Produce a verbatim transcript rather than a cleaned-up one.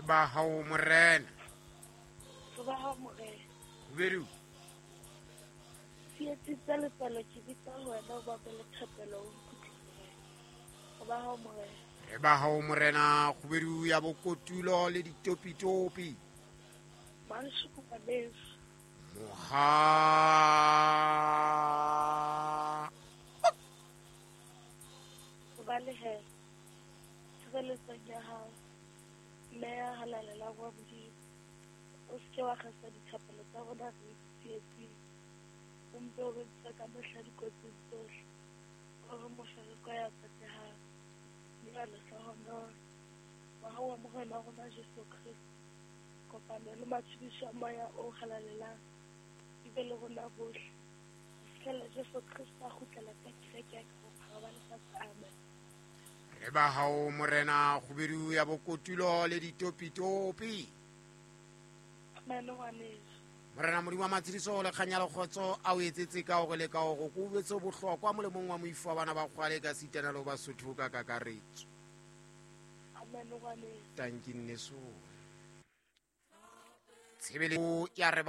Re ba hao morena. Re ba hao morena. Khubedu. Tsietsi tsa letswalo ke bitsa ho wena o bapele thapelo o nkutlwe morena. Re ba hao morena. Re ba hao morena khubedu ya bokotulo le ditopitopi. Manshuku ngwaneso. Moha. Re ba lehela. Tshireletsong ya hao. Mme ya halalelang wa Modimo. O se ke wa kgasa dithapelo tsa rona re tsietsing. O mpe o re ntshe ka mehla dikotsing tsohle. O re mofereko ya tsotehang. Mme ya lehlohonolo. Mohau wa Morena wa rona Jesu Kreste. Kopano le matshediso a moya o halalelang di be le rona bohle. Ho fihlela Jesu Kreste a kgutlela ka kereke ya ka bophara ba lefatshe. Amen. Re ba hao morena khubedu ya bokotulo le ditopitopi. Amen ngwaneso. Morena Modimo wa matshediso le kganya le kgotso a o etsetse ka hore le ka hore ko ubetse bohlokwa molemong wa moifo wa bana ba kgwale ka sitana le Basotho ka kakaretso. Amen ngwaneso. Tanki nneso. Tshebeletso ya re ba